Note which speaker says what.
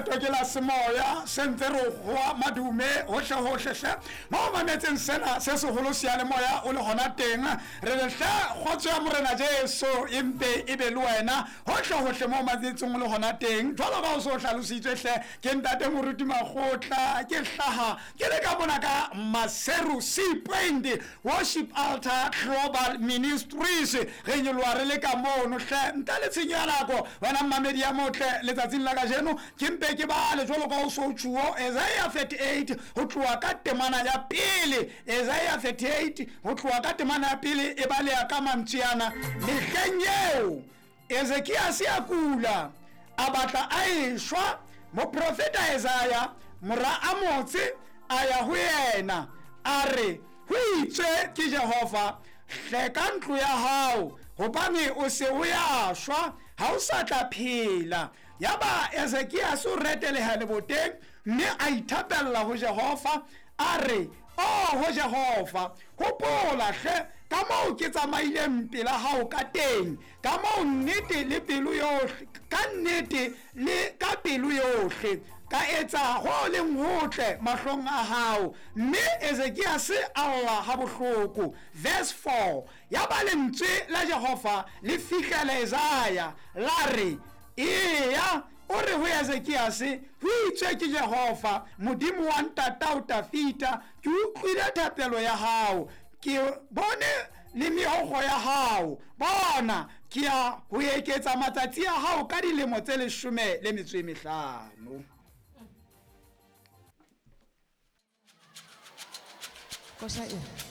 Speaker 1: Leeto ke la semoya se ntse re goa madume hohle-hohle hle mo o mametseng sena se seholo seyalemoya o le gona teng. Re re hle kgotso ya Morena Jesu e mpe e be le wena hohle-hohle mo o mametseng o le gona teng. Jwalo ka o se o hlalositswe hle ke ntate Moruti Makgotla, ke hlaha ke le ka mona ka Maseru Sea Point Worship Altar Global Ministries. Re nyoloha re le ka mono hle ntle le tshenyo ya nako. Wena mmamedi ya motle, letsatsing la kajeno ke mpe ke bale jwalo ka o so tjhuo Isaiah 38 ho tloha ka temana ya pele. Isaiah 38 ho tloha ka temana ya pele e baleha ka mantswe ana: mehleng eo Ezekiase a kula, a batla a eshwa. Moprofeta Isaiah mora Amotse a ya ho yena, a re, ho itswe ke Jehova, hleka ntlo ya hao, hobane o se o ya shwa, ha o sa tla phela. Yaba Ezekiase o reteleha leboteng, mme a ithapella ho Jehova, a re, Oho Jehova, hopola hle ka moo ke tsamaileng pela hao ka teng, ka moo nnete le pelo yohle, ka nnete le ka pelo yohle, ka etsa ho leng hotle mahlong a hao. Mme Ezekiase a lla ha bohloko. Verse 4, yaba lentswe la Jehova le fihlela Isaiah, la re, Eya, o re ho Ezekiase, ho itswe ke Jehova, Modimo wa ntatao Dafida, ke utlwile thapelo ya hao, ke bone le meokgo ya hao. Bona, ke ya ho eketsa matsatsi a hao ka dilemo tse 15.
Speaker 2: Koša e.